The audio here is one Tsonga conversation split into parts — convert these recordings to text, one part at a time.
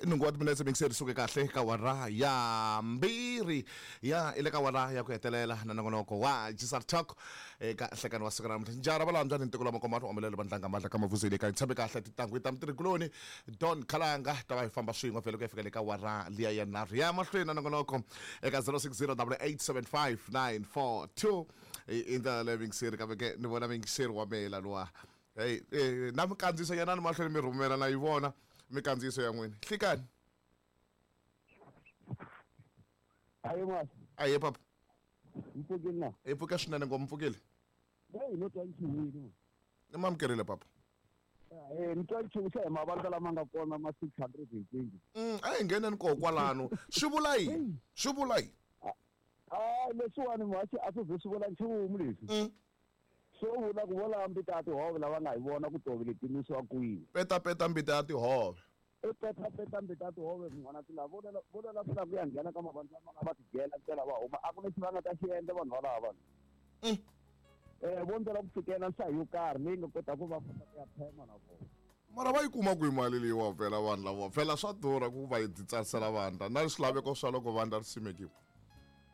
Nhungu wa timinetse mingiseri suke kahle ka wara ya mbirhi ya i le ka wara ya ku hetelela na nongonoko wa Gisar Talk eka nhlekani wa siku ra namuntlha. Njara va lambya ni ntiko la makomano omelele vandlanga mandla ka mavuzeli ka tshembe kahle titangwi ta mutirhikuloni Don Khalanga ta va hi famba swin'we vhele ku ya fika le ka wara liya ya nharhu ya mahlweni na nongonoko eka 0608875942 i ndlela leyi mingiseri kambe ke ni vona mingiseri wa mela luwa. Hey, na mikandziyiso yanani mahlweni mi rhumela na yi vona mikandziyiso ya n'wina. Hlikani. Aye masi. Aye papa. Mpfukile na. Hi pfuke swinene ngopfu mpfukile. Hey, no twa nchumu. Ni mamukerile papa. Eh, ni twa nchumu xa hi mavandla lama nga kona ma 620. A hi ngheneni koho kwalano. Swi vula yini? Swi vula yini? Ah, leswiwani mhasi a swi ze swi vula nchumu leswi. Swo vula ku vo lava mbita ya tihove lava nga hi vona ku tihove leti nwisiwa kwihi. Peta peta mbita ya tihove. I peta peta mbita ya tihove munghana ti lava vo lava ku lava ku ya nghena ka mavandla lama nga va tidyela ntsena va huma a ku lexi va nga ta xi endla vanhu valava. Vo ndzela ku fikela nhlayo yo karhi leyi nga kotaka ku va kota ku ya phema na vona. Mara va yi kuma kwihi mali leyiwa phela vanhu lava phela swa durha ku va yi tsarisela vandla na swilaveko swa loko vandla ri simekiwa.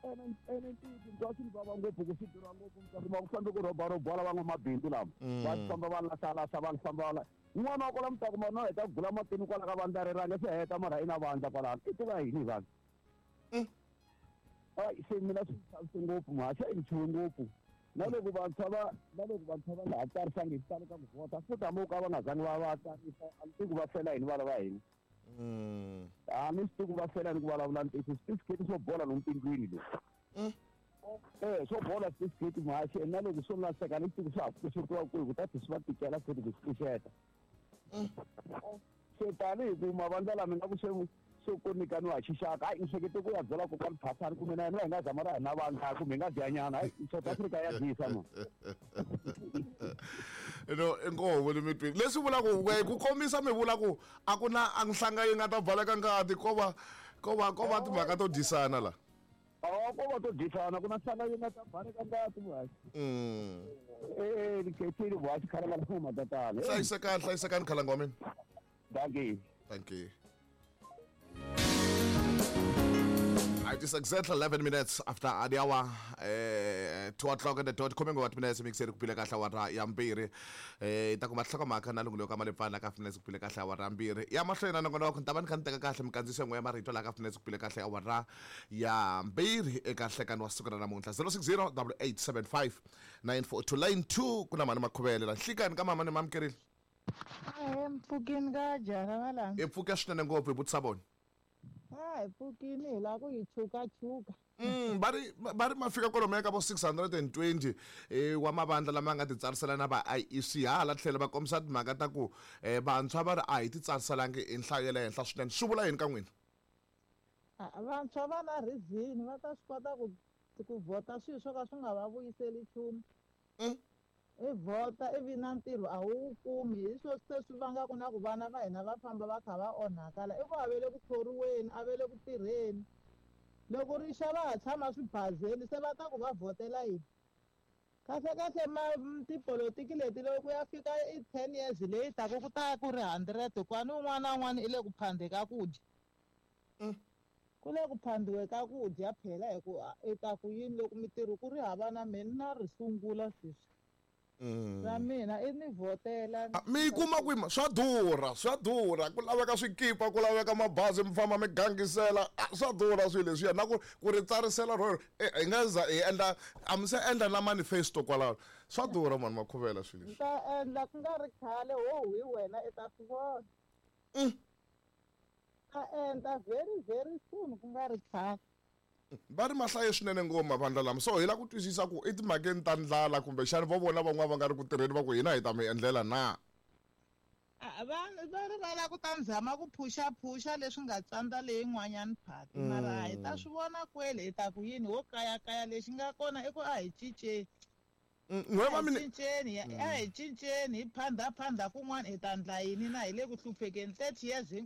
Ene ene ntiyiso ni twa swi ni vava ngopfu ku swi durha ngopfu mi ta kuma ku fambe ku rhobarhobiwa lava van'wamabindzu lava va famba va lahlalahla va famba va un'wana wa kwala mi ta kuma no heta ku gula matini kwala ka vandla rero a nge se heta mara i na vandla kwalano i tiva yini hi vanhu. Hayi se mina swi chavise ngopfu mhasha i nchumu ngopfu na loko vantshwa va na loko vantshwa va nga ha tsarisangi hi xitalo ka ku vhota futhi hambi ka va nga zangi va va tsarisa a ni tivi ku va fela yini vana va hina. A ni swi tivi ku va fela yini ku vulavula ntiyiso switifiketi swo bola lomu tindlwini leswi. Eh swo bola switifiketi mhasha na loko swo lahleka ni swi tivi ku swa ha pfuxetiwa kwihi ku ta tlhe swi va tikela futhi ku swi pfuxeta. Se tanihi ku mavandla lama nga ku se se ku nyikaniwa hi xixaka hayi ni hlekete ku ya byela kokwani Phasani kumbe na yena hi nga zama ra hina vandla kumbe hi nga dya nyana hayi South Africa ya dyisa ma. No inkoho le mitweni leswi vulaka ku kombisa mi vula ku a ku na a nhlanga yi nga ta baleka ngati ko va ko va ko va timhaka to dyisana la. Awa ko va to dyisana ku na nhlanga yi nga ta baleka ngati muhaxi. Eh ni khethile muhaxi khalanga la matatana. Hlayisekani hlayisekani khalanga wa mina. Dankie. Thank you. It is exactly 11 minutes after the hour, 2 o'clock in the dot. Coming what minutes mixer kupile kahle awara ya mbirhi. Ta kuma nhlokomhaka na lungulo ka malepfana ka finesse kupile kahle awara ya mbirhi. Ya mahlweni na nongonoko ni ta va ni kha ni teka kahle minkandziyiso yin'we ya marito laha ka finesse kupile kahle awara ya mbirhi eka nhlekani wa siku ra namuntlha 060 8875 942 line 2 ku na mhani Makhuvele la nhlikani ka mama ni mamukerile. Ahee, mpfukini ka jara va la. Hi pfuke swinene ngopfu hi vutisa vona. A hi pfukini hi lava ku yi chukachuka. Va ri va ri ma fika kwalomuya ka vo 620 wa mavandla lama nga titsarisela na va IEC hala tlhelo va kombisa timhaka ta ku vantshwa va ri a hi titsariselangi hi nhlayo ya le henhla swinene swi vula yini ka n'wina? Vantshwa va na reason va ta swi kota ku ku vhota swilo swo ka swi nga va vuyiseli nchumu. I vhota ivi na ntirho a wu wu kumi hi swo se swi vangaka na ku vana va hina va famba va kha va onhaka la i ku a ve le ku thoriweni a ve le ku tirheni loko ri xa va ha tshama swibazeni se va ta ku va vhotela yini kahle kahle ma tipolotiki leti loko ku ya fika i 10 years leyi taka ku ta ku ri 100 kwani un'wana na un'wana i le ku phandhe ka ku dya. Ku le ku phandiwe ka ku dya phela hi ku i ta ku yini loko mitirho ku ri hava na mina na ri sungula sweswi. Ra mina i ni vhotela. Mi yi kuma kwihi swa durha swa durha ku laveka swikipa ku laveka mabazi mi famba mi gangisela swa durha swilo leswiya na ku ku ri tsarisela ro hi nga za hi endla a mi se endla na manifesto kwalaho swa durha mani Makhuvela swilo leswi. Ni ta endla ku nga ri khale ho hi wena i ta swi vona. Ta endla very very soon ku nga ri khale. Va ri ma hlaye swinene ngopfu mavandla lama so hi lava ku twisisa ku i timhakeni ta ndlala kumbexana vo vona van'wana va nga ri ku tirheni va ku hina hi ta mi endlela na? Vanhu va ri va lava ku ta ni zama ku phushaphusha leswi nga tsandza leyin'wanyana phati mara hi ta swi vona kwele hi ta ku yini ho kayakaya lexi nga kona i ku a hi cinceni. N'we va A hi cinceni a hi cinceni hi phandha phandha kun'wana hi ta ndla yini na hi le ku hluphekeni 30 years hinkwayo.